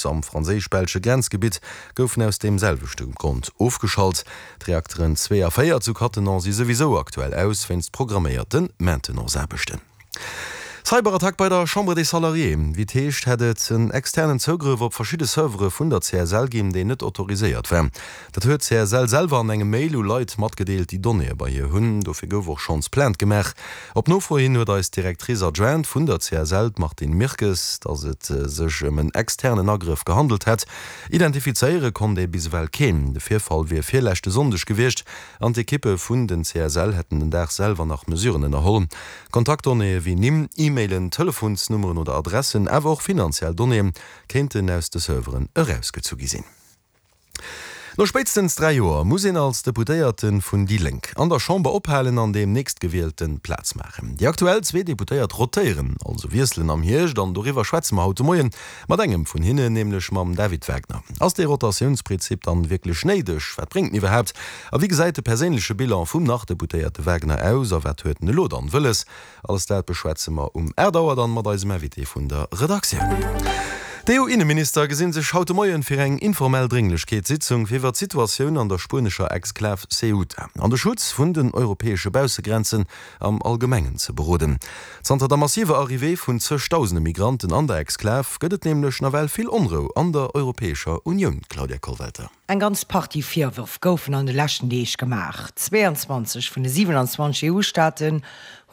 Sluis am franséisch-belsche Grenzgebitt goufen aus deem selwechte Grond ofgeschalt. D'Reakteren 2 a 4 zu Cattenom si souwisou aktuell aus, wéinst programméierte Maintenance-Aarbechten. Cyberattack bei der Chambre des Salariés, Wéi et heescht, hätt et en externen Zougrëff op verschidde Servere vun der CSL ginn, deen net autoriséiert war. Dat huet d'CSL selwer an engem Mail u Leit matgedeelt, déi Donnéeë bei hir hunn. Dofir gouf och schonns Plainte gemaach. Op Nofro hin huet eis d'Directrice adjointe vun der CSL, d'Martine Mirkes, datt et sech ëm en externen Agrëff gehandelt hätt. Identifizéiere konnt ee bis ewell keen. De Virfall wier virleschte Sonndeg gewiescht an d'Ekippe vun den CSL hätten den Dag selwer nach Mesuren ënnerholl. Kontaktdonnéeë wéi Nimm, E-Mailen, Telefonsnummeren oder Adressen, awer och finanziell Donnéeë kéinten aus de Serveren erausgezu gi sinn. No spéitstens 3 Joer muss een als Deputéierte vun déi Lénk an der Chamber ophalen an deem Nächstgewielte Plaz maachen. Déi aktuell zwee Deputéiert rotéieren, also wiesselen am Hierscht an doriwwer schwätze mer haut de Moien mat engem vun hinnen, nämlech mam David Wagner. Ass dee Rotatiounsprinzip dann wierklech néideg? Wat bréngt en iwwerhaapt? A wéi gesäit de perséinleche Bilan vum Nach-Deputéierte Wagner aus a wat huet en elo dann wëlles? Alles dat beschwätze mer um 8 Auer dann mat eisem Invité vun der Redaktioun. D'EU-Inneminister gesinn sech haut de Moien fir eng informell Drénglechkeetssitzung fir iwwer d'Situatioun an der spuenescher Exklav Ceuta an de Schutz vun den europäesche Baussegrenzen am Allgemengen ze beroden. Zanter der massiver Arrivée vun zëgdausende Migranten an der Exklav gëtt et nämlech nawell vill Onrou an der Europäescher Unioun, Claudia Kollwelter. Eng ganz Partie Virwërf goufen an de leschten Deeg gemaach. 22 vun de 27 EU-Staaten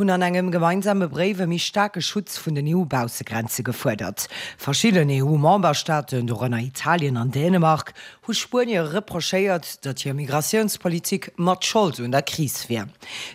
hunn an engem gemeinsame Bréif e méi staarke Schutz vun den EU-Baussegrenze gefuerdert. Verschidden EU-Memberstaaten, dorënner Italien an Dänemark, hu Spuenie reprochéiert, datt hir Migratiounspolitik mat Schold un der Kris wier.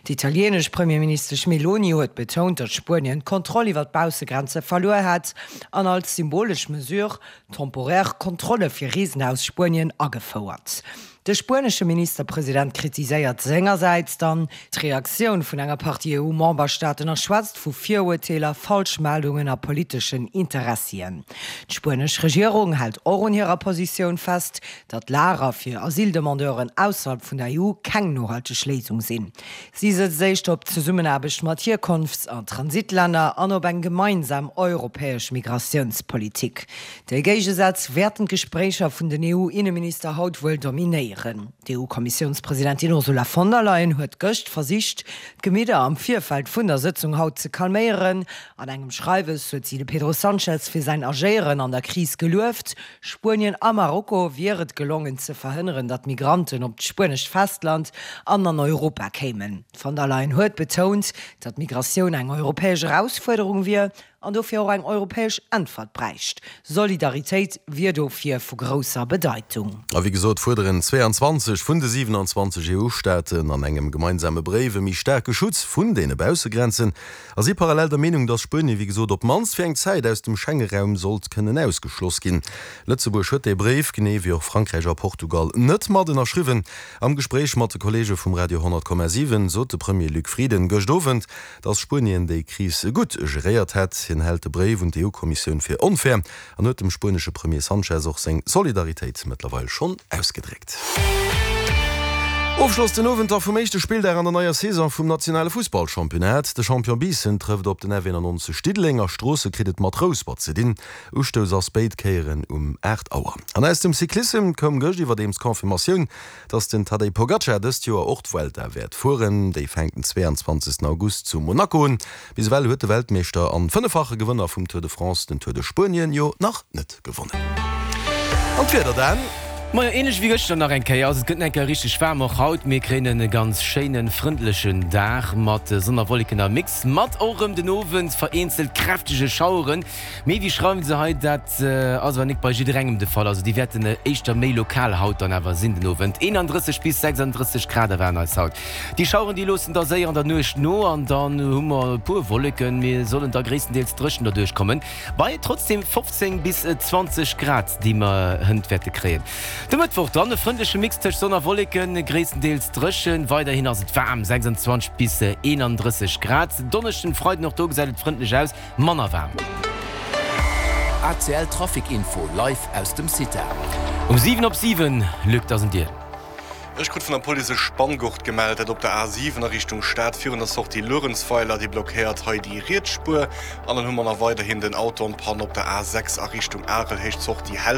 D'italieenesch Premierministesch Meloni huet betount, datt Spuenien d'Kontroll iwwer d'Baussegrenze verluer hätt an als symbolesch Mesure Temporaire Kontrolle fir Reesen aus Spuenien agefouert. De spuenesche Ministerpresident kritiséiert sengersäits dann d'Reaktioun vun enger Partie EU-Memberstaaten a schwätzt vu Virurteeler, Falschmeldungen a politeschen Interessien. D'spuenesch Regierung hält och un hirer Positioun fest, datt Lager fir Asyldemandeuren ausserhalb vun der EU keng nohalteg Léisung sinn. Si sëtzt éischter op d'Zesummenaarbecht mat Hierkonfts a Transitlänner an op eng gemeinsam europäesch Migratiounspolitik. Déi Géigesätz wäerten d'Gespréicher vun den EU-Inneminister haut wuel dominéieren. D'EU-Kommissiounspresidentin Ursula von der Leyen huet gëscht versicht, d'Gemidder am Virfeld vun der Sëtzung haut ze calméieren. An engem Schreiwes huet si de Pedro Sanchez fir säin Agéieren an der Kris gelueft. Spuenien a Marokko wier et gelongen ze verhënneren, datt Migranten op d'spuenescht Festland an an Europa kéimen. D'Von der Leyen huet betount, datt Migratioun eng europäesch Erausfuerderung wier an dofir och eng europäesch Äntwert bräicht. Solidaritéit wier dofir vu grousser Bedeitung. A wéi gesot fuerderen 22 vun de 27 EU-Staaten an engem gemeinsame Bréif e méi staarke Schutz vun deene Baussegrenzen. A si parallel der Meenung, datt Spuenie wéi gesot op d'mannst fir eng Zäit aus dem Schenge-Raum sollt kënnen ausgeschloss ginn. Lëtzebuerg huet dee Bréif, genee wéi och Frankräich a Portugal, net mat ënnerschriwwen. Am Gespréich mat de Kolleege vum Radio 100,7 sot de Premier Luc Frieden gëscht Owend, datt Spuenien déi Kris gutt geréiert hätt. Hien hält de Bréif un d'EU-Kommissioun fir onfair an huet dem spuenesche Premier Sanchez och seng Solidaritéit mëttlerweil schonn ausgedréckt. Ofschloss den Owend da vum éischte Spilldag an der neier Saison vum nationale Fussballchampionnat. De Champion Biissen trëfft op den F91 Diddeleng a Stroosse kritt et mat Rouspert ze dinn. Ustouss ass béid Kéieren um 8 Auer. An aus dem Cyclissem koum gëscht iwwerdeems d'Confirmatioun, dass den Tadej Pogacar dëst Joer och d'Vuelta wäert fueren. Déi fänkt den 22 August zu Monaco un. Bis ewell huet de Weltmeeschter an fënneffache Gewënner vum Tour de France den Tour de Spuenien jo nach net gewonnen. An d'Wieder dann? Majo, ähnlech wéi gëschter nach eng Kéier. Also et gëtt nach eng Kéier richteg waarm och haut. Mir kréien e ganz schéinen, frëndlechen Dag mat Sonn a Wolleken am Mix, mat och erëm den Owend vereenzelt kräftege Schaueren. Mee wéi schreiwen se hei, dat ass awer nik bei jidderengem de Fall. Also déi wäerten éischter méi lokal haut dann awer sinn den Owend. 31 bis 36 Grad erwaarden eis haut. Déi Schaueren déi loossen da séier an der Nuecht no an dann hu mer e puer Wolleken. Mir sollen da gréisstendeels dréchen derduerch kommen, bei trotzdeem 15 bis 20 Grad déi mer hënt wäerte kréien. De Mëttwoch dann e frëndleche Mix tëscht Sonn a Wolleken, gréisstendeels dréchen. Weiderhin ass et waarm, 26 bis 31 Grad. Donneschden, Freiden och do gesäit et frëndlech aus, manner waarm. ACL Trafic Info live aus dem CITA. Um 7 op 7, Luc, dat ass un dir. Ech krut vun der Police e Spanngurt gemellt, dat op der A7 a Richtung Stad virun der Sortie Luerenzweiler. Dee blockéiert hei déi riets Spuer. An dann hu mer nach weiderhin den Auto en panne op der A6 a Richtung Arel, Héicht Sortie Helfent.